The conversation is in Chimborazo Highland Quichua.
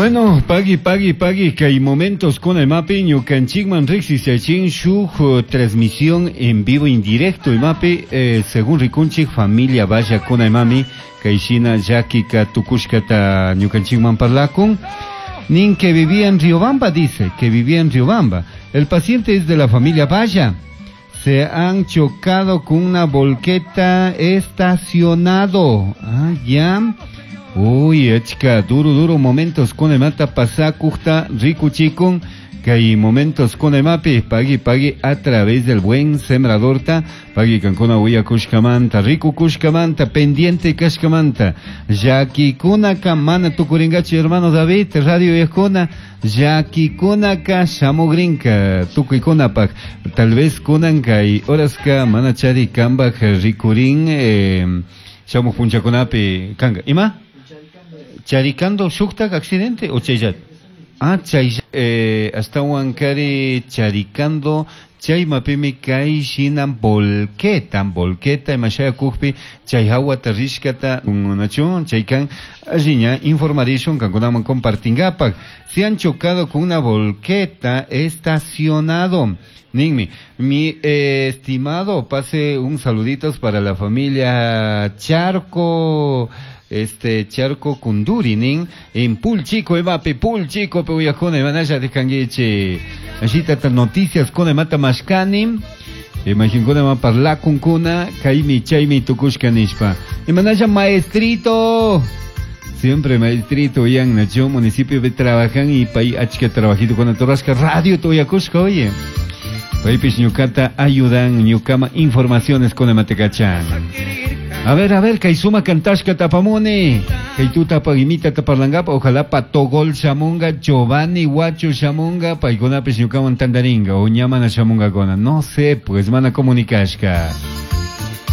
Bueno, pagui, pagui, pagui, kay momentos con el mapi, ñukanchikman riqsishachin shuk transmisión en vivo en directo imapi, según rikunchik familia vaya con el mami, kay shina llakika tukushkata ñukanchikman parlakun. Nin que vivía en Riobamba, dice, que vivía en Riobamba. El paciente es de la familia Valla. Se han chocado con una volqueta estacionado. Ah, ya. Uy, achka, duro, duro momentos con el mata pasakujta rikuchikun. Kay momentos con el mapi, pagui, pagui, a través del buen sembradorta, pagui kankuna willakushkamanta, rikukushkamanta, pendiente kashkamanta, llakikunaka mana tukuringachu hermano David, radio yajkuna, llakikunaka shamugrinka, tukuykunapak, tal vez kunan kay horaska mana chari kambaj rikurin, shamuj punchakunapi kanga, ima? Charicando shuktak accidente o chayat? Ah, chay, astawan kari charicando chay mapimi kay shina volqueta, volqueta imashaya kukpi chay hawata rishkata unachun chay kan alliña informarishun kankunaman compartingapak. Se han chocado con una volqueta estacionado. Ninmi, mi estimado, pase un saluditos para la familia Charco, Charco Kunduri, nin, en Pulchico, emape, Pulchico, pe uyajuna, imanaya de canguiche. Allí tata noticias con emata mashkani, imaginkuna ma parlakunkuna, kaimi, chaymi, tukushka nishpa. Imanaya maestrito, siempre maestrito, yan, nacho, municipio de trabajan y pay achka trabajito con atorasca, radio toyakushka, oye. Paypis ñukata ayudan, ñukama informaciones con ematecachan. A ver, Kaisuma Kantashka tapamone. Kaituta pagimita taparlangapa, ojalá patogol shamunga, Giovanni Guacho shamunga, paykunapis ñukaman tandaringa, o ñamana shamunga kona. No sé, pues mana comunicashka.